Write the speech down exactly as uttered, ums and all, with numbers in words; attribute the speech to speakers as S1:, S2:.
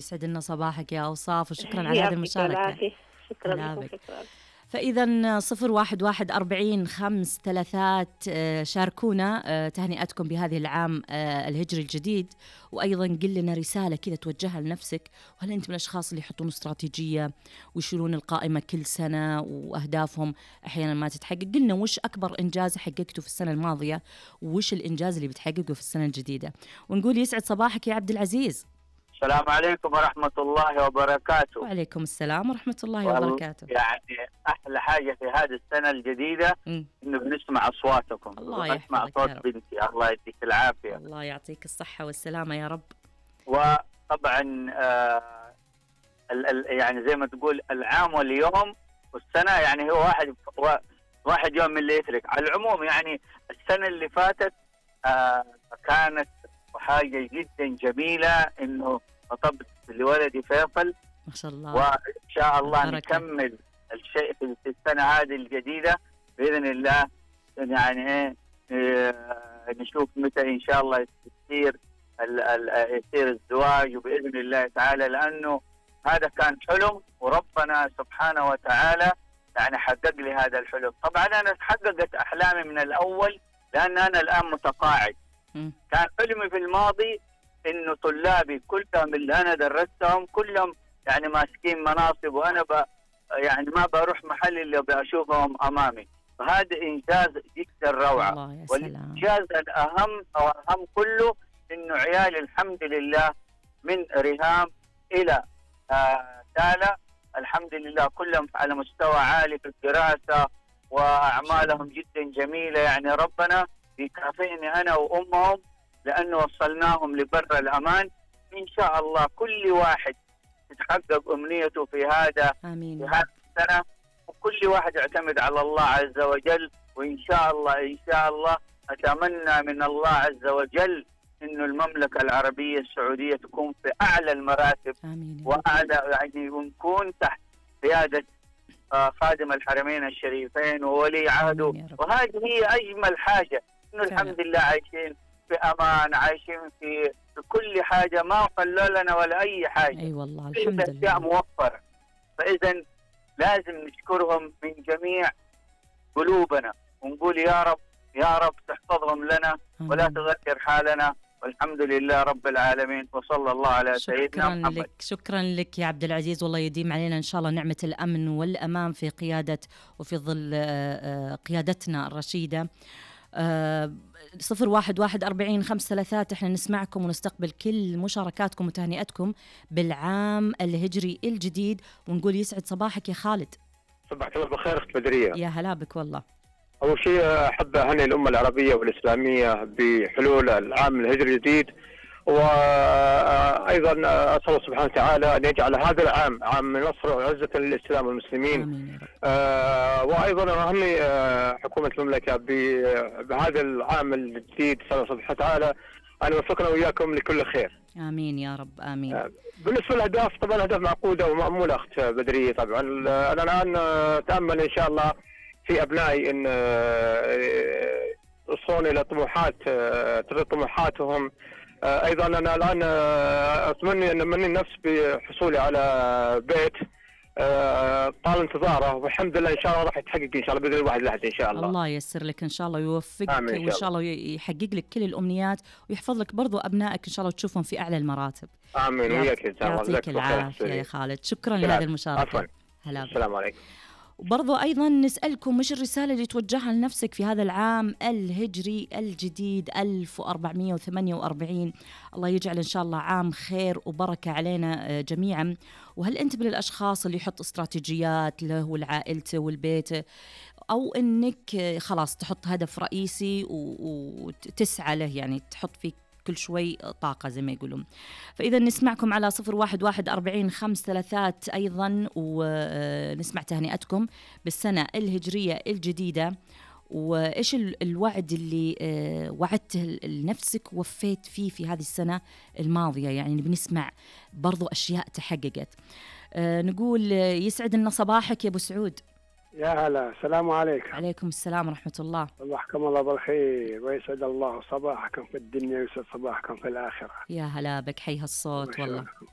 S1: يسعد لنا صباحك يا أوصاف، وشكرا على هذه
S2: يعطيك
S1: المشاركة.
S2: العافية. شكرا
S1: هلا
S2: لكم.
S1: بك.
S2: شكرا.
S1: فإذا صفر واحد واحد أربعين خمس ثلاثات آه، شاركونا آه، تهنئتكم بهذه العام آه، الهجري الجديد، وأيضا قل لنا رسالة كذا توجهها لنفسك. وهل أنت من الأشخاص اللي يحطون استراتيجية ويشيلون القائمة كل سنة وأهدافهم أحيانا ما تتحقق؟ قلنا وش أكبر إنجاز حققته في السنة الماضية، وش الإنجاز اللي بتحققه في السنة الجديدة. ونقول يسعد صباحك يا عبد العزيز.
S3: السلام عليكم ورحمة الله وبركاته.
S1: وعليكم السلام ورحمة الله
S3: وال-
S1: وبركاته.
S3: يعني أحلى حاجة في هذه السنة الجديدة
S1: مم.
S3: إنه بنسمع أصواتكم.
S1: الله
S3: ونسمع
S1: يحفظك
S3: صوت
S1: يا رب.
S3: بنتي، الله يديك العافية.
S1: الله يعطيك الصحة والسلامة يا رب.
S3: وطبعا آه ال ال يعني زي ما تقول العام واليوم والسنة، يعني هو واحد واحد يوم من اللي يترك. على العموم يعني السنة اللي فاتت آه كانت حاجة جدا جميلة، إنه خطبت لولدي فيصل،
S1: ما شاء الله.
S3: وإن شاء الله
S1: بركة.
S3: نكمل الشيء في في السنة هذه الجديدة بإذن الله. يعني إيه إيه، نشوف متى إن شاء الله يصير ال- ال- يصير الزواج، وبإذن الله تعالى، لأنه هذا كان حلم وربنا سبحانه وتعالى يعني حقق لي هذا الحلم. طبعا أنا حققت أحلامي من الأول، لأن أنا الآن متقاعد.
S1: مم.
S3: كان حلمي في الماضي إنه طلابي كلهم اللي أنا درستهم كلهم يعني ماسكين مناصب، وأنا ب يعني ما بروح محل اللي بشوفهم أمامي. فهذا إنجاز جدا روعة.
S1: الله يا سلام.
S3: والإنجاز الأهم أو أهم كله إنه عيالي الحمد لله من ريهام إلى آه تالا الحمد لله كلهم على مستوى عالي في الدراسة، وأعمالهم جدا جميلة. يعني ربنا يكافئني أنا وأمهم لأنه وصلناهم لبر الأمان. إن شاء الله كل واحد تتحقق أمنيته في هذا
S1: آمين.
S3: في هذه السنة، وكل واحد يعتمد على الله عز وجل. وإن شاء الله إن شاء الله أتمنى من الله عز وجل إنه المملكة العربية السعودية تكون في أعلى المراتب
S1: آمين.
S3: وأعلى، يعني ونكون تحت قيادة آه، خادم الحرمين الشريفين وولي عهده.
S1: آمين يا رب.
S3: وهذه هي أجمل حاجة، إنه
S1: فعلا.
S3: الحمد لله عايشين في أمان، عايشين في في كل حاجة، ما قلوا لنا ولا أي حاجة.
S1: أي والله
S3: كل
S1: الحمد
S3: الأشياء
S1: لله.
S3: موفرة. فإذا لازم نشكرهم من جميع قلوبنا، ونقول يا رب يا رب تحفظهم لنا ولا
S1: آمين.
S3: تغير حالنا، والحمد لله رب العالمين، وصلى الله على سيدنا
S1: شكرا
S3: محمد.
S1: لك، شكرا لك يا عبد العزيز، والله يديم علينا إن شاء الله نعمة الأمن والأمان في قيادة وفي ظل آه، آه، قيادتنا الرشيدة. آه، صفر واحد واحد أربعين خمس ثلاثات احنا نسمعكم ونستقبل كل مشاركاتكم وتهنئتكم بالعام الهجري الجديد. ونقول يسعد صباحك يا خالد.
S4: صباحك الله بالخير اخت بدريه.
S1: يا هلا بك والله.
S4: اول شيء احب اهني الامه العربيه والاسلاميه بحلول العام الهجري الجديد، وايضا اسال الله سبحانه وتعالى ان يجعل هذا العام عام نصر وعزه للاسلام والمسلمين.
S1: آمين يا رب.
S4: آه وايضا اهني آه حكومه المملكه ب- بهذا العام الجديد، اسال الله سبحانه وتعالى ان يوفقنا واياكم لكل خير.
S1: آمين يا رب. آمين.
S4: آه، بالنسبه للاهداف، طبعا الاهداف معقوده وماموله اخت بدريه. طبعا انا الان اتامل ان شاء الله في ابنائي ان آه، يوصلون الى طموحات آه، ترضي طموحاتهم. آه، ايضا انا الان آه، اتمنى ان امني النفس بحصولي على بيت آه، طال انتظاره، والحمد لله ان شاء الله راح يتحقق ان شاء الله باذن الواحد الاحد ان شاء الله.
S1: الله ييسر لك إن شاء الله ويوفقك،
S4: آمين إن شاء
S1: وإن شاء الله يحقق لك كل الأمنيات ويحفظ لك برضو أبنائك إن شاء الله وتشوفهم في أعلى المراتب.
S4: امين وياك ان شاء الله.
S1: يعطيك
S4: جزاك الله خير.
S1: العافية يا خالد. شكرا
S4: بالعافية.
S1: لهذه المشاركة.
S4: عفوا.
S1: هلا بك.
S4: السلام عليكم.
S1: وبرضو أيضا نسألكم مش الرسالة اللي توجهها لنفسك في هذا العام الهجري الجديد ألف وأربعمائة وثمانية وأربعين. الله يجعل إن شاء الله عام خير وبركة علينا آه، جميعا. وهل أنت من الأشخاص اللي يحط استراتيجيات له ولعائلته والبيت، أو أنك آه، خلاص تحط هدف رئيسي و- وتسعى له، يعني تحط فيه كل شوي طاقة زي ما يقولون؟ فإذا نسمعكم على صفر واحد واحد أربعين خمس ثلاثات أيضا، ونسمع تهنئتكم بالسنة الهجرية الجديدة، وإيش ال- الوعد اللي آه، وعدته لنفسك ووفيت فيه في هذه السنة الماضية. يعني بنسمع برضو أشياء تحققت. آه، نقول آه، يسعد لنا صباحك يا أبو سعود.
S5: يا هلا، السلام عليكم.
S1: عليكم السلام ورحمة الله.
S5: صباحكم الله بالخير، ويسعد الله صباحكم في الدنيا ويسعد صباحكم في الآخرة.
S1: يا هلا بك، حي هالصوت والله.
S5: وشلونكم؟